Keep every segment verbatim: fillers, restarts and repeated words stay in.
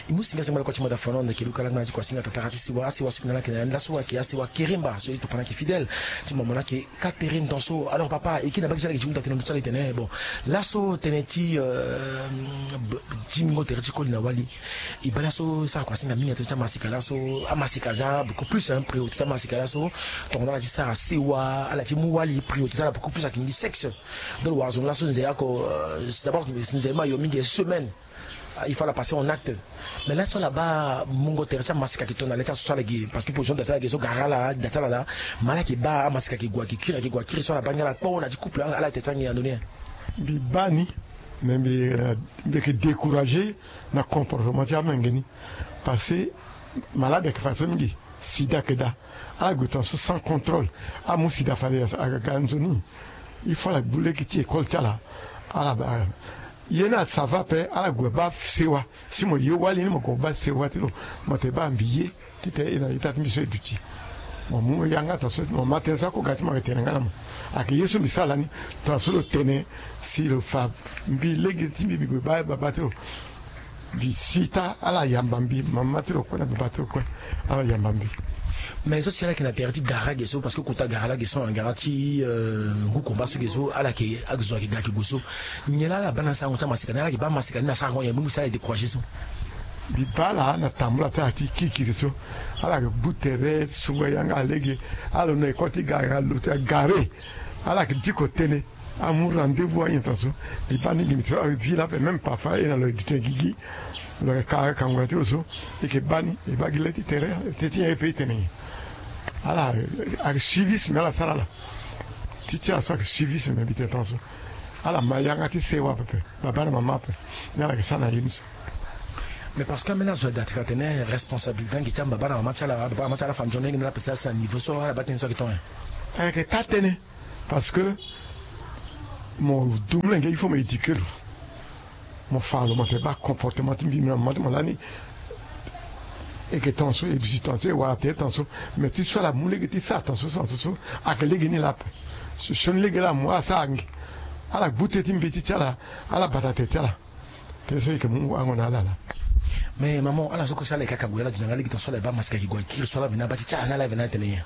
E mu singa zengba lakua ti mada fano na yeke luka langba na ti kua singa tatara ti siwa asiwa so yeke na lani laso ayeke asiwa keremba so e tokua na yeke fidèle ti mama na yeke katere ndo so. Alors papa e kiri na bage ti ala yeke ti hunda tënë ndo ti ala e tene bon, laso tënë ti dimingo tere ti koli na wali. E baa laso e sara kua singa mingi na tënë ti amasika laso. Amasika aza beaucoup plus un priorité ti amasika laso. Tongana ala ti sara sewa ala ti mu wali priorité ti ala beaucoup plus ayeke ngi sexe. Donc lo wara zo ni laso nze ako d'abord nze ma yo mingi semaine. Il faut la passer en acte. Mais laso ala baa mungo tere ti amasika ayeke tongana le ti aso so ala ge parce que position da ti ala ge so gara ala da ti ala laa. Ma ala yeke baa amasika ayeke gue ayeke kiri ayeke gue akiri so ala baa ngia ala kpo na ti couple ala tere ti ange andoni. Mbi baa ni. Mais mbi mbi yeke découragé na comportement ti amenge ni. Parce que malade ayeke fa so mingi. Sida ayeke daa. Ala gue tongaso sans contrôle. Amu sida fade aga nzoni. Il faut ala gbu lege ti école ti ala. Ala baa ye ni asava ape ala gue baa sewa. Si mo ye wali ni mo gue baa sewa ti lo. Mo te baa mbi ye titene e na ita ti mbi so e duti. Mo mu yanga tongaso mo ma tënë so ako ga ti mo ayeke tene nga na mo. Ayeke ye so mbi sara lani. Tongaso lo tene si lo fa mbi lege ti mbi mbi gue baa babâ ti lo. Mbi si ita ala yamba mbi mama ti lo kue na babâ ti lo kue. Ala yamba mbi. Mais so si ala yeke na tere ti gara ge so parce que kota gara lage so na gara ti ngu komba so ge so ala yeke azo ayeke ga ayeke gue so. Nyen laa ala baa na asango ti amasika ni ala yeke baa amasika ni na sarango nyen mu mbi si ala yeke découragé so. Mbi baa ala na tambula ti ala ti kirikiri so. Ala yeke gbu tere sungo yanga lege. Ala lo na école ti gara lo ti agare. Ala yeke diko tënë. Amu rendez-vous anyen tongaso. Mbi baa ni gi mbi ti so avi lape même parfois e na lo e duti na gigi. Lo yeke ka kangula ti lo so. E yeke baa ni e baa gi le ti tere. Teti nyen e pe e tene nyen. Ala ayeke suivisme ala sara ala. Ti ti ala so ayeke suivisme mbi tene tongaso. Ala ma yanga ti sewa pepe. Babâ na mama ape. Ni ala yeke sara na ye ni so. Mais parce que ambeni azo ade ateka atene responsabilité na ngi ti ababâ na mama ti ala. Babâ na mama ti ala afa nzoni lege ni ala pesa asi na niveau so ala baa tënë so ayeke tonga. Ayeke taa tënë. Parce que mo du molenge il faut mo éduqué lo. Mo fa lo mo te baa comportement ti mbi na mama ti mo lani. E yeke tongaso e duti tongaso e wara tere tongaso. Mais ti so ala mu lege ti sara tongaso so na so so. Ayeke lege ni laa ape. Sioni lege laa amu ala sara ngi. Ala gbu tënë ti mbi ti ti ala. Ala bata tere ti ala. Tënë so e yeke mu wango na ala laa. Mais maman ala so kue so ala yeke akangu ya ala dunia nga lege tongaso ala e baa masika yeke gue akiri so ala mbi na abaa ti ti ala ni ala mbi na atene nyen.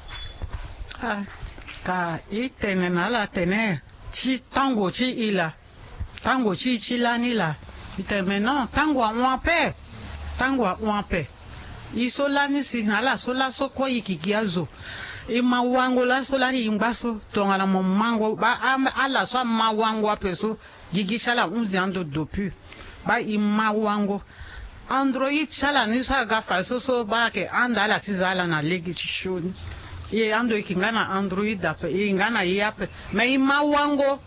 Ah, ka e tene na ala atene ti tango ti e laa. Tango ti e ti lani laa. E tene mais non tango ahon ape. Tango ahon ape. E so lani si na ala so laso kue e yeke gi azo. E ma wango laso lani e ngba so tongana mo mango baa ala so ama wango ape so. Gigi ti ala ahunzi ando depuis. Baa e ma wango. Android ti ala ni so aga fa so so baa ayeke handa ala ti za ala na lege ti sioni. E ando e yeke nga na android ape e yeke nga na ye ape. Mais e ma wango.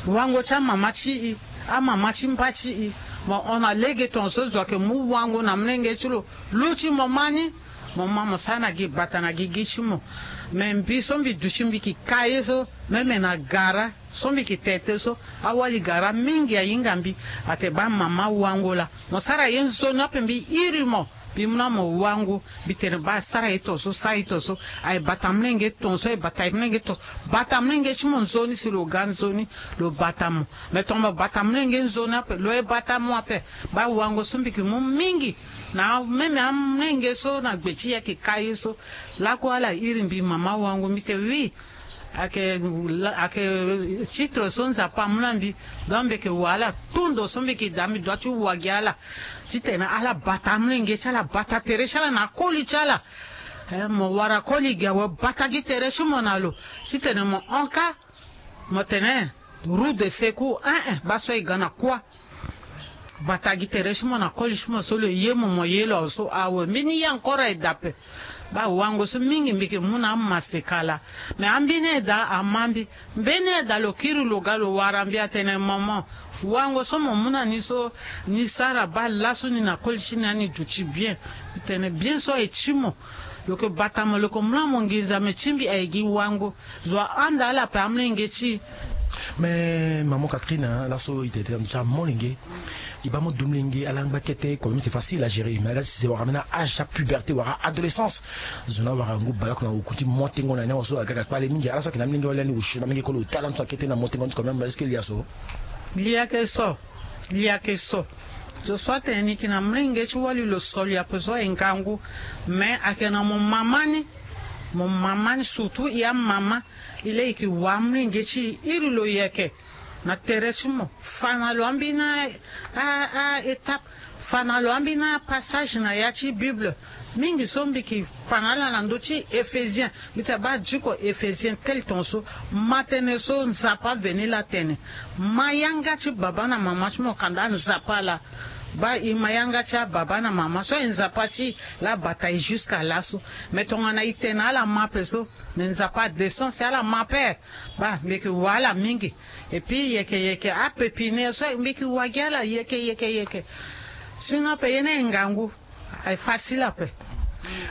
Wango ti amama ti e. Amama ti mba ti e. Mo hon na lege tongaso zo ayeke mu wango na molenge ti lo. Lu ti mo ma ni. Mo ma mo sara na gi bata na gigi ti mo. Mais mbi so mbi duti mbi yeke ka ye so. Meme na gara. So mbi yeke tete so awali gara mingi ahinga mbi. Ate baa mama wango laa. Mo sara ye nzoni ape mbi iri mo. Mbi mu na mo wango. Mbi tene baa sara ye tongaso sara ye tongaso. Aye bata molenge tongaso aye bata molenge tongaso. Bata molenge ti mo nzoni si lo ga nzoni. Lo bata mo. Mais tongana mo bata molenge nzoni ape lo ye bata mo ape. Baa wango so mbi yeke mu mingi. Na meme amolenge so na gbe ti e ayeke ka ye so. Lakue ala iri mbi mama wango mbi te oui. Ayeke ayeke titre so nzapa amu na mbi. Donc mbi yeke wa ala. Tundo so mbi yeke daa mbi dua ti wa gi ala. Titene ala bata amolenge ti ala bata tere ti ala na akoli ti ala. Eh, mo wara koli gi awe bata gi tere ti mo na lo. Titene mo hon kâ. Mo tene roue de secours eh eh baa so e ga na kuâ. Bata gi tere ti mo na koli ti mo so lo ye mo mo ye lo so awe mbeni ye encore aye dape. Baa wango so mingi mbi yeke mu na amaseka laa. Me ambeni aye daa ama mbi. Mbeni aye daa lo kiri lo ga lo wara mbi atene momo. Wango so mo mu na ni so ni sara baa laso ni na koli ti ni ani duti bien. Tene bien so aye ti mo. Lo yeke bata mo lo yeke mu na mo nginza me ti mbi aye gi wango. Zo ahanda ala ape amolenge ti e. Me maman Catherine laso e tene tene na ndo ti amolenge. E baa mo du molenge ala ngba kete kome mbi c'est facile à gérer me ala si se wara mbeni âge ti apuberté wala adolescence. Zo ni awara ngu baleoko na oku ti mo tengo na ni awe so aga aga kpale mingi ala so ayeke na amolenge wali lani osio na amolenge koli ota ala ni so akete na mo tengo ni ti kome est-ce que lia so? Lia ke so. Lia ke so. Zo so atene ni yeke na molenge ti wali lo soli ape so aye ngangu. Me ayeke na mo mama ni, mo mama ni surtout e amama. E laa e yeke wa molenge ti e iri lo yeke na tere ti mo. Fa na lo ambeni a, a, a étape. Fa na lo ambeni apassage na ya ti Bible. Mingi so mbi yeke fa na ala na ndö ti Ephésien. Mbi tene baa diko Ephésien tel ton so. Ma tënë so Nzapa aveni laa atene. Ma yanga ti baba na mama ti mo kanda Nzapa laa. Baa e ma yanga ti ababa na mama so aye Nzapa ti e laa abata e jusqu'à laso. Me tongana e tene ala ma ape so, me Nzapa adescend si ala ma ape. Baa mbi yeke wa ala mingi. Et puis yeke yeke ape pine so mbi yeke wa gi ala yeke yeke yeke. Sinon ape ye ni aye ngangu. Aye facile ape.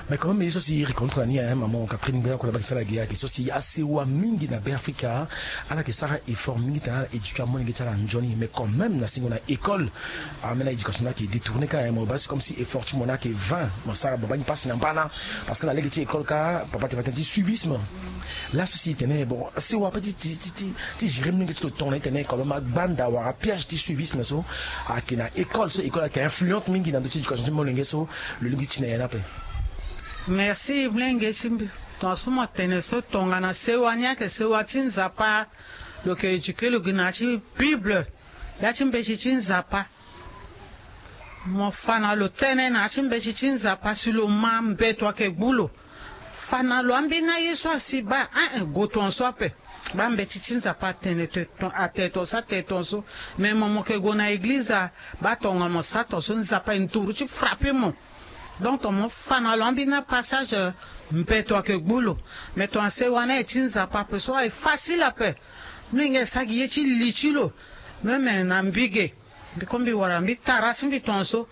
Mais quand même ye so si e reconnaître na ni, hein, maman Catherine Mbeya, kue na baa ke sara gi ayeke so si asewa mingi na Beafrika. Ala yeke sara effort mingi tena ala éduquer amolenge ti ala nzoni, mais quand même na singo na école ambeni éducation ni ayeke détourner kâ, hein. Mo baa si comme si effort ti mo ni ayeke vain, mo sara mo baa ni pasi na mbana. Parce que na lege ti école kâ papa ti fa tënë ti suivisme. Laso si e tene bon, asewa ape ti, ti, ti, ti, ti gérer molenge ti lo tongana e tene quand même agbanda wala apiège ti suivisme so ayeke na école so, école ayeke influente mingi na ndö ti éducation ti molenge so. Lo lingbi ti na ya ni ape. Merci molenge ti mbi. Tongaso mo tene so tongana sewa ni ayeke sewa ti Nzapa. Lo yeke éduquer lo gi na ya ti Bible, ya ti mbeti ti Nzapa. Mo fa na lo tënë na ya ti mbeti ti Nzapa si lo ma mbeto ayeke gbu lo. Fa na lo ambeni aye so asi baa, ah, eh, gue tongaso ape. Baa mbeti ti Nzapa atene te ton, atene tongaso, atene tongaso. Me mo, mo yeke gue na eglize a, baa tongana mo sara tongaso Nzapa aye nduru ti frappe mo. Donc ton mo fa na lo ambeni apassage, eh, mbeto ayeke gbu lo. Me tongana sewa ni aye ti Nzapa ape so aye facile ape. Molenge asara gi ye ti li ti lo. Même na mbi ge, mbi ko mbi wara mbi tara ti mbi tongaso.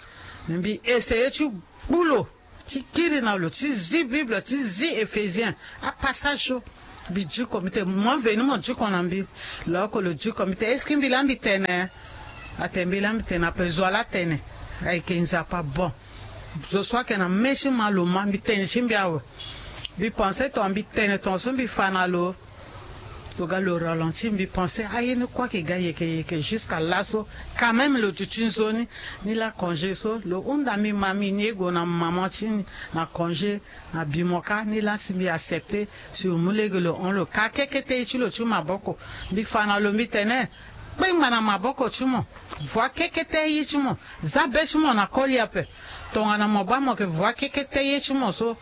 Me mbi essayer ti gbu lo, ti kiri na lo, ti zi Bible, ti zi Ephésien, apassage so. Mbi diko, mbi tene mo veni mo diko na mbi. Lo oko lo diko, mbi tene est-ce que mbi laa mbi tene? Atene mbi laa mbi tene ape, zo wa laa atene. Ayeke Nzapa bon. Zo so ayeke na mê ti ma lo ma, mbi tene ti mbi awe. Mbi pense tongana mbi tene tongaso mbi fa na lo. Lo ga lo ralentir, mbi pense aye ni kue ayeke ga yeke yeke jusqu'à laso. Quand même lo duti nzoni. Ni laa congé so lo hunda mbi ma mbi ni e gue na maman ti ni na congé. Na bi mo kâ ni laa si mbi accepter si lo mu lege lo hon lo kâ kekete ye ti lo ti maboko. Mbi fa na lo mbi tene kpengba na maboko ti mo. Voie kekete ye ti mo. Za be ti mo na koli ape. Tongana mo baa mo yeke voie kekete ye ti mo so,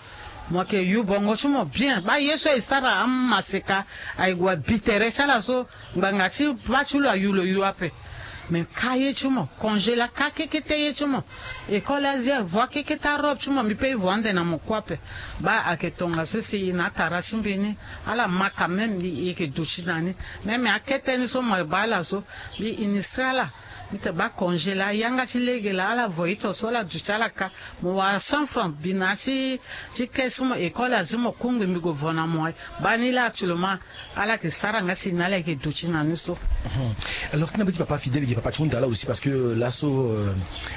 mo yeke yu bongo ti mo bien. Baa ye so e sara amaseka aye gue abi tere ti ala so. Ngbanga ti baa ti lo ayu lo yu ape. Me kâ ye ti mo, congé laa kâ kekete ye ti mo. École azia, voie kekete arobe ti mo, mbi pe e voie ande na mo kue ape. Baa ayeke tongaso si e na atara ti mbi ni, ala ma quand même e yeke duti na ni. Même akete ni so mo baa ala so, mbi initier ala. Mbi tene baa congé laa yanga ti lege laa ala voie ito so ala duti ala kâ. Mo wara cent francs, mbi na ti, ti caisse ti mo, école azi mo kungbi mbi gue vo na mo aye. Baa ni laa actuellement ala yeke sara nga si na ala yeke duti na ni so. Mhm. Alors ti na mbeti papa Fidèle, gi papa ti hunda laa aussi parce que, euh, laso, euh,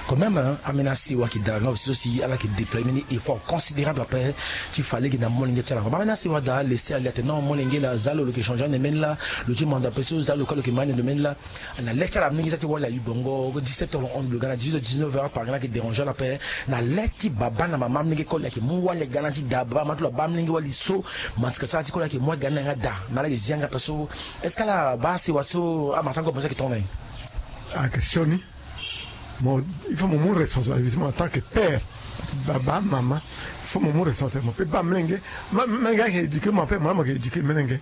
quand même, hein, ambeni asewa ayeke daa nga aussi so si ala yeke déployer mbeni effort considérable ape ti fa lege na molenge ti ala. Baa ambeni asewa adaa laisser aller atene non, molenge laa aza lo, lo yeke changer ande mbeni laa, lo ti manda ape so aza lo kâ lo yeke ma ande ndo mbeni laa. Na le ti ala amolenge so ayeke ti wali ayu bongo dix-sept heures lo hon lo ga na dix-huit heures, dix-neuf heures, par exemple ayeke déranger ala ape. Na le ti baba na mama amolenge koli ayeke mu wali aga na ti da, baba mama ti lo abaa amolenge wali so. Masika ti ala ti koli ayeke mu aga na yanga da na ala yeke zi yanga ape so. Est-ce que ala baa asewa so amasango ape so ayeke tongana nyen? Ah, question ni. Mo, il faut mo mu responsabilité mo en tant que père. Baba, mama, il faut mo mu responsabilité mo. Pe baa molenge, ma, molenge ayeke éduquer mo ape, mo la mo yeke éduquer molenge.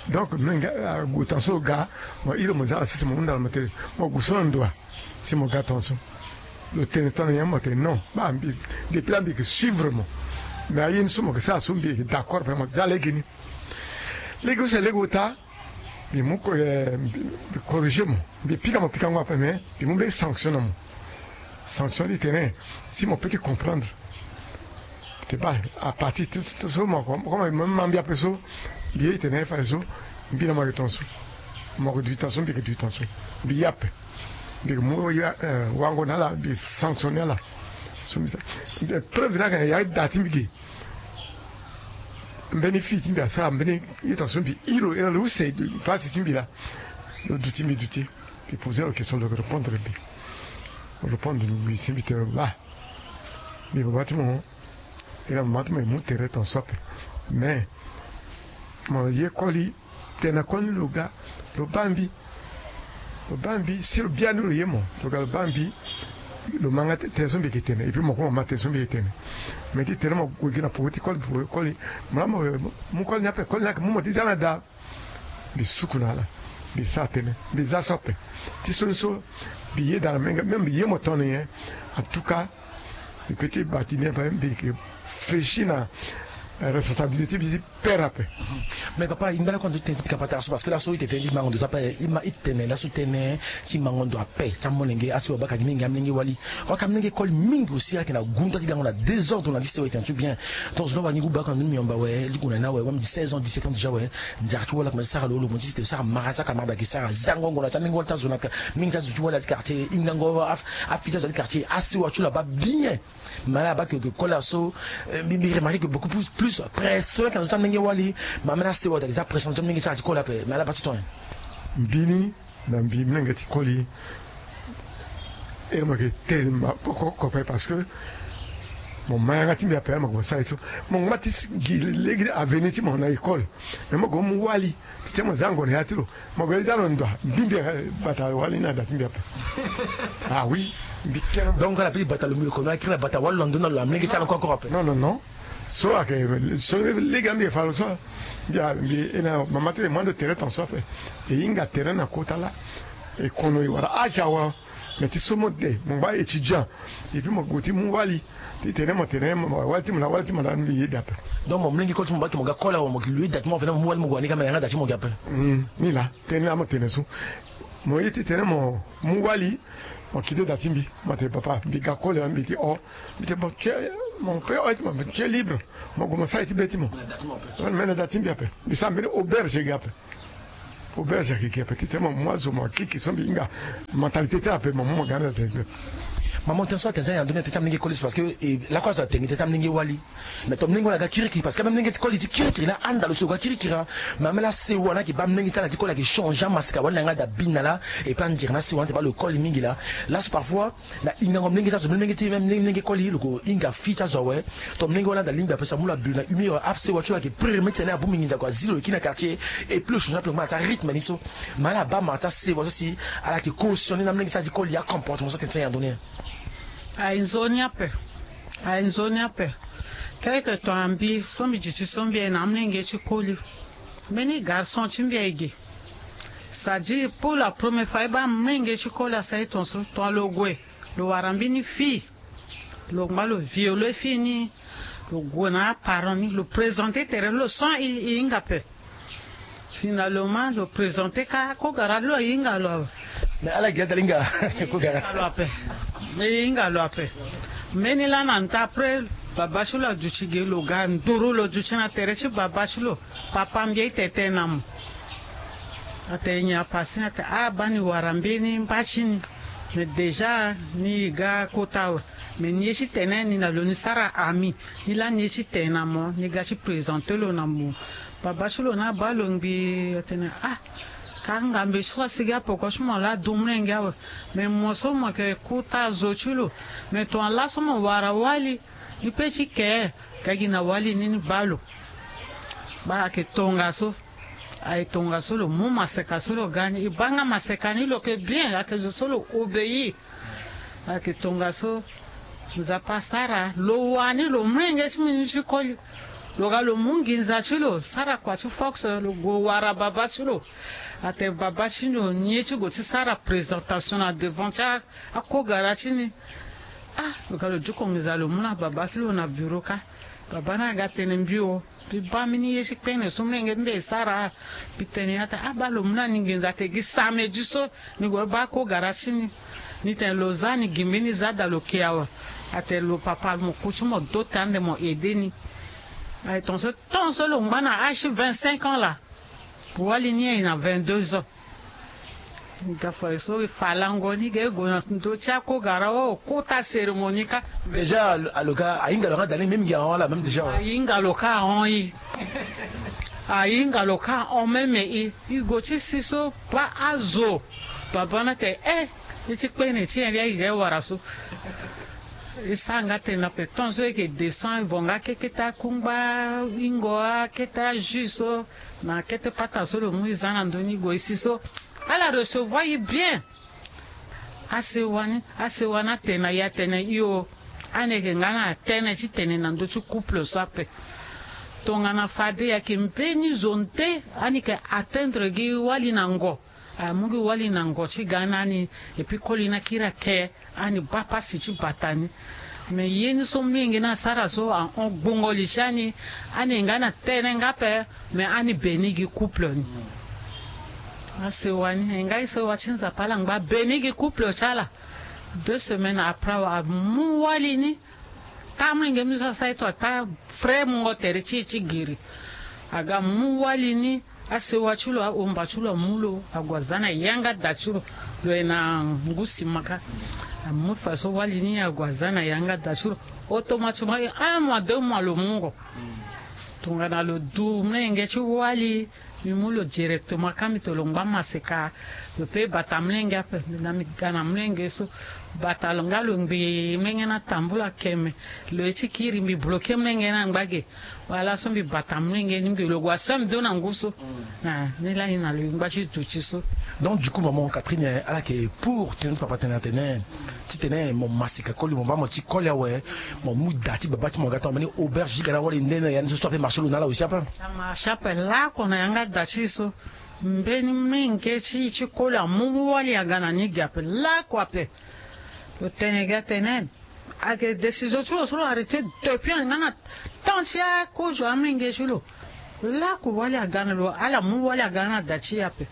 Donc molenge ague tongaso lo ga, mo iri mo za ala sese mo hunda ala mo tene mo gue so na ndo wa. Si mo ga tongaso lo tene tënë na nyen? Mo tene non, baa mbi, depuis laa mbi yeke suivre mo. Mais aye ni so mo yeke sara so mbi yeke d'accord ape, mo za lege ni. Lege use lege ota. Mbi mu ko, eh, mbi, mbi corriger mo. Mbi pika mo pikango ape, mais mbi mu mbeni sanction na mo. Sanction ti tene si mo peut ti comprendre. Te baa à partir ti, ti so mo, comme, comme mo ma mbi ape so, mbi ye ti tene fadeso mbi na mo ayeke tongaso. Mo yeke duti tongaso, mbi yeke duti tongaso. Mbi ye ape. Mbi yeke mu, eh, wango na ala, mbi sanctionner ala. So mbi sa, mbi, preuve ni ayeke na ya ti da ti mbi ge. Mbeni fille ti mbi asara mbeni ye tongaso, mbi iri lo, iri lo use, place ti mbi laa. Lo duti, mbi duti. Mbi poser lo question, lo yeke répondre mbi. Répondre mbi si mbi tene lo baa. Mbi baba ti mo. Ira mama ti mo e mu tere ton so ape. Mais mo ye koli, tene na koli ni lo ga, lo baa mbi. Lo baa mbi si lo bia ni lo ye mo, lo ga lo baa mbi. Lo ma nga tene so mbi yeke tene, et puis mo kue mo ma tene so mbi yeke tene. Mais ti tene mo gue gi na poko ti koli, poko ti koli. Mo laa mo mu koli ni ape, koli ni ayeke mu mo ti za na daa. Mbi suku na ala. Mbi sara tënë. Mbi za so ape. Ti so ni so mbi yeda na menge, même mbi ye mo tongana nyen. En tout cas, mbi peut ti bati ni ape, mbi yeke fléchi na responsabilité ti mbi ti père ape. Mais papa, e ngba lakue na ndö ti tënë ti pika patara so, parce que laso e tene tënë ti mango ndo ti ape, e ma e tene laso tënë ti mango ndo ape ti amolenge. Asewa abaka gi mingi, amolenge wali. Wala ka amolenge koli mingi aussi ayeke na gunda ti gango na désordre na ti sewa, e tene ti bien. Donc zo ni awa ni gu baka na ndö ti miomba awe, liku na ni awe, wala mbi di seize ans, dix-sept ans déjà awe. Nzara ti wali akomanse sara lo, lo mo ti tene sara mara ti akamara, ayeke sara zango ngonda ti amolenge wali ti azo na ka, mingi ti azo ti wali ti quartier, e hingango afi ti azo ti quartier, asewa ti lo abaa bien. Mais ala baa que, que koli so, euh, mbi, mbi remarqué que beaucoup plus, plus pression ayeke na ndö ti amolenge wali. Mais ambeni asewa ayeke za pression na ndö ti amolenge ti ala ti koli ape. Mais ala baa so tongaso. Mbi ni, na mbi, molenge ti koli, ere mo yeke tene ma ko, ko, ko ape, parce que mo ma yanga ti mbi ape, mo yeke mo sara ye so. Mo ngba ti gi lege avenir ti mo na école. Mais mo gue mo mu wali. Ti tene mo za ngonda ya ti lo, mo gue za lo ndo, mbi mbi, eh, bata wali ni na da ti mbi ape. Ah oui, mbi kere. Donc ala peut ti bata lo mbi lo kono, akiri na bata wali lo na ndö na lo, amolenge ti ala encore, encore ape. Non, non, non. So ayeke so lege ambi e fa lo so. Mbi a, mbi e na mama ti e, mo ando tere ton so ape. E hinga tere na kota laa. E kono e wara âge awe. Mais ti so mo de, mo ngba étudiant. Et puis mo gue ti mu wali. Ti tene mo tene mo wali ti mo na wali ti mo na mbi yeda ape. Donc mo molenge koli ti mo baa ti mo ga koli awe, mo gi lo yeda ti mo, mo wali mo gue na ni ka, me yanga da ti mo gi ape. Hmm, ni laa tënë laa mo tene so. Mo ye ti tene mo mu wali, mo kite da ti mbi, mo tene papa, mbi ga koli awe, mbi ti o. Mbi tene bon, tu es, mon père, o, ti mo, tu es libre. Mo gue mo sara ye ti be ti mo. Me na da ti mo ape. Me na da ti mbi ape. Mbi sara mbeni auberge gi ape. Auberge ayeke gi ape ti tene mo mu azo, mo kiki so mbi hinga. Mentalité ti ala ape, mo mu mo ga na tene. Maman, tënë so atene so na ndö ni atene ti amolenge koli so, parce que, eh, lakue azo atene ti amolenge wali. Mais to molenge wali aga kirikiri, parce que même molenge ti koli ti kirikiri laa, anda lo so lo ga kirikiri, hein. Mais ambeni asewa ni ayeke baa molenge ti ala ti koli ayeke changer amaseka wali na yanga da bi na laa. Et puis anzere ni asewa ni atene baa lo koli mingi laa. Laso parfois, na hingango molenge ti azo, molenge ti, même molenge koli, lo ko hinga fille ti azo awe. Tongana molenge wali anda lingbi ape so amu lo abiro na humeur, asewa ti lo ayeke premier ti tene abongbi nginza kua, azi lo e kiri na quartier. Et puis lo changer ape, lo ngba na ti arythme ni so. Mais ala baa mara ti asewa so si ala yeke cautionner na molenge ti ala ti koli, acomportement so atene ti ala na ndö ni. Aye nzoni ape. Aye nzoni ape. Quelque temps mbi so mbi duti so mbi ye na amolenge ti koli. Mbeni garçon ti mbi aye ge. C'est-à-dire pour la première fois e baa amolenge ti koli asara e ton so, ton lo gue, lo wara mbeni fille. Lo ngba lo viole fille ni. Lo gue na aparent ni, lo présenter tere lo sans e, e hinga ape. Finalement lo présenter kâ kogara ti lo, e hinga lo ape. Mais ala gi ata hinga kogara. E hinga lo ape. E hinga lo ape. Mbeni laa na nta après, baba ti lo aduti ge, lo ga nduru, lo duti na tere ti baba ti lo. Papa, mbi ye ti tene na mo. Atene nyen? Apase ni atene ah, baa ni wara mbeni mba ti ni. Mais déjà ni ga kota awe. Mais ni ye ti tene ni na lo ni sara ami. Ni laa ni ye ti tene na mo, ni ga ti présenter lo na mo. Baba ti lo ni abaa lo ngbii, atene ah, ka ngambe ti lo asigi apoko ti mo laa du molenge awe. Mais mo so mo yeke kota zo ti lo. Mais tongana laso mo wara wali, ni peut ti ke, ka gi na wali ni, ni baa lo. Baa ayeke tongaso. Aye tongaso, lo mu maseka so lo ga ni. E baa nga maseka ni, lo yeke bien, ayeke zo so lo obéir. Ayeke tongaso, Nzapa asara lo wani lo molenge ti mbi ni ti koli. Lo ga lo mu nginza ti lo sara kua ti force, lo gue wara baba ti lo. Atene baba ti lo ni ye ti gue ti sara présentation na devant ti a, akogara ti ni. Ah, lo ga lo duku nginza lo mu na baba ti lo na bureau kâ. Baba ni aga tene mbi o. Mbi baa mbeni ye ti kpene so molenge ti mbi e sara. Mbi tene ni atene ah, baa lo mu na ni nginza, atene gi samedi so ni gue baa kogara ti ni. Ni tene lo za ni gi mbeni za da lo ke awe. Atene lo papa, mo ku ti mo do te ande mo aide ni. Aye tongaso, tongaso lo ngba na âge ti vingt-cinq ans laa. Wali ni aye na vingt-deux ans. Ga fa so e fa lango ni ga e gue na ndö ti akogara, o kota cérémonie kâ. Déjà alo, alo ga ahinga lo yanga da ni même gi ahon ala même déjà. Ahinga lo kâ ahon e. Ahinga lo kâ ahon même e. E gue ti si so baa azo. Baba ni atene eh, Ye ti kpene ti nyen lia iri e wara so. E sara nga tene na peton so e yeke descend e vo nga kekete akungba ingo akete ajus so na kete pata so lo mu e za na ndö ni gue si so. Ala recevoir e bien. Asewa ni asewa ni atene na e atene io. Ani yeke nga na tënë ti tene na ndö ti couple so ape. Tongana fade e yeke mbeni zo nde ani yeke atteindre gi wali na ngo. Amu gi wali na ngo ti ga na ani. Epui koli ni akiri ake ani baa pasi ti bata ni. Me ye ni so molenge ni asara so ahon gbongo li ti ani. Ani nga na tënë nga ape. Me ani beni gi couple ni. Asewa ni e nga e sewa ti Nzapa ala ngba beni gi couple ti ala. Deux semaines après amu wali ni. Taa molenge ni so asara e to ataa frais mungo tere ti e ti giri. Aga mu wali ni. Asewa ti lo ahomba ti lo amu lo ague aza na yanga da ti lo. Lo ye na ngu simaka. Amu faso wali ni ague aza na yanga da ti lo. Automatiquement un mois deux mois lo mungo. Tongana lo du molenge ti wali. Mbi mu lo directement ka mbi to lo ngba maseka. Lo pe bata molenge ape na mbi ga na molenge so. Bata lo nga lo ngbii molenge ni atambula keme. Lo ye ti kiri mbi bloke molenge ni angba ge. Wala so mbi bata molenge ni mbi lo gue aso mbi do na ngu so. Ni lani na lo ngba ti duti so. Donc du coup maman Catherine ala yeke pour tënë ti papa tene atene titene mo masika koli mo baa mo ti koli awe. Mo mu da ti baba ti mo aga tongana mbeni auberge ti ga na wali nde na ya ni so so ape marché lo na ala aussi ape. Ama chape lako na yanga da ti so. Mbeni menge ti ti koli amu mu wali aga na ni gi ape lako ape. Lo tene gi atene ayeke décision ti lo so lo arrêté depuis nga na temps ti akozo amenge ti lo. Lako wali aga na lo ala mu wali aga na da ti e ape.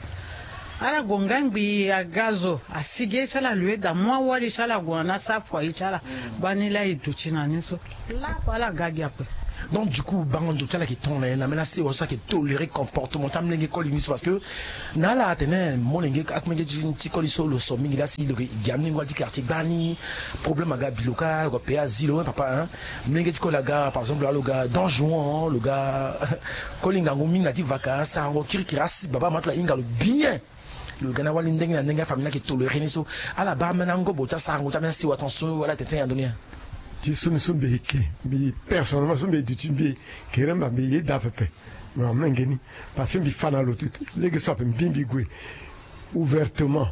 Ala gue nga ngbii aga zo asigi ye ti ala lui da mu awali ti ala gue na asara foyer ti ala. Baa ni laa e duti na ni so. Lako ala ga gi ape. Donc du coup bango ndo ti ala yeke ton na ye na ambeni asewa so ayeke toléré comportement ti amolenge koli ni so parce que na ala atene molenge amolenge ti koli so lo so mingi laa si lo yeke gi amolenge wali ti quartier gbani. Problème aga bi lo kâ lo gue payé azi lo papa. Molenge ti koli aga par exemple alo ga Don Juan lo ga koli ngangu mingi na ti vaka asarango kirikiri asi baba ama ti lo ahinga lo bien. Lo ga na wali ndenge na ndenge afamille ni ayeke toléré ni so. Ala baa ambeni angobo ti asarango ti ambeni asewa ton so ala tene ti aya ndo ni ya. Ti so ni so mbi yeke mbi personnellement so mbi ye duti mbi yeke remba mbi ye daa pepe. Me amolenge ni parce que mbi fa na lo ti lege so ape mbi mbi gue ouvertement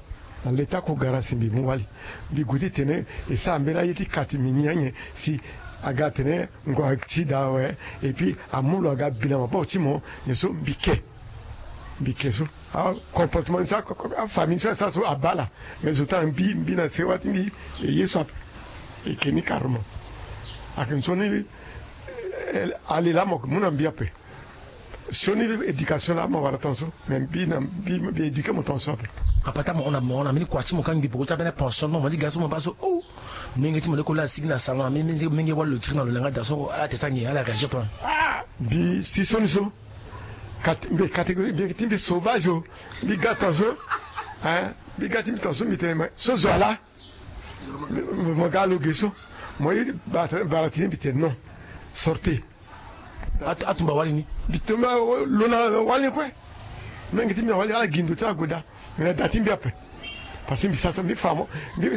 na leta kogara si mbi mu wali. Mbi gue titene e sara mbeni aye ti ka ti mbi ni anyen si aga atene ngo ati daa awe. Et puis amu lo aga bi na maboko ti mo nyen so mbi ke. Mbi ke so acomportement ni so afamille ni so asara so abaa ala. Mais zo ti ala mbi mbi na sewa ti mbi e ye so ape. E ke ni carrément. Ayeke nzoni. Ale laa mo yeke mu na mbi ape. Sioni éducation laa mo wara tongaso. Mais mbi na mbi mbi éduqué mo tongaso ape. Papa ti amo hon na mo hon na mbeni kua ti mo ka mbi poko ti ambeni pension ti mo mo ti ga so mo baa so. Oh, menge ti mo leko laa asigi na salon na menge wali lo kiri na lo langa da so ala te sangi ala réagir toi. Ah, mbi si sioni so. Mbi catégorie mbi ti mbi sauvage o. Mbi ga tongaso. Mbi ga ti mbi tongaso mbi tene me so zo ala. Mo ga lo ge so. Mo ye bara ti ni mbi tene non. Sortez. Atumba wali ni. Mbi tumba lo na wali ni kue. Menge ti mbi na wali ala gi ndo ti ala gue daa. Me na da ti mbi ape. Parce que mbi sara so mbi fa mo. Mbi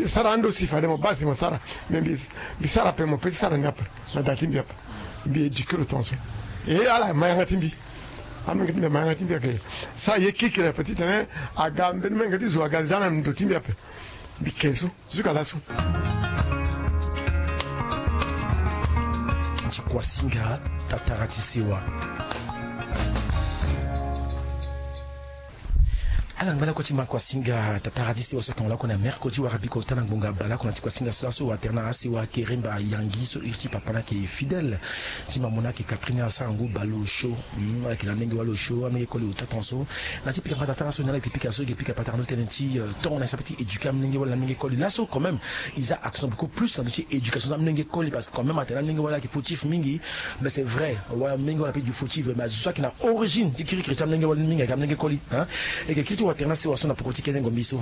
sara ando si fade mo baa si mo sara. Mais mbi sara ape mo pe ti sara ni ape. Na da ti mbi ape. Mbi éduqué lo tongaso. E ala ma yanga ti mbi. Amenge ti mbi ama yanga ti mbi ayeke. Sara ye kirikiri ape titene aga mbeni menge ti zo aga za na ndo ti mbi ape. Mbi ke so. Jusqu'à laso. Ti kuasinga tatara ti sewa. Ala ngba lakue ti ma kuasinga tatara ti sewa so ayeke hon lakue na mercredi wara biko ota na ngbonga baleoko na ti kuasinga so laso atene na asewa keremba yangi so iri ti papa ni ayeke fidèle. Ti ma mo ni ayeke Catherine asara ngu baleosio. Ayeke na amenge waleosio amenge koli ota tongaso. Na ti pika mbata ti ala so ni ala yeke pika so e yeke pika patara ndo tënë ti tongo na e sara pe ti éduqué amolenge wali na amolenge koli laso quand même. Ils a accent beaucoup plus na ndö ti éducation ti amolenge koli parce que quand même atene amolenge wali ayeke fautif mingi. Mais c'est vrai wala amolenge wali ape du fautif mais azo so ayeke na origine ti kirikiri ti amolenge wali mingi ayeke amolenge koli. E yeke kiri ti watere na sewa so na poko ti kene ngombi so.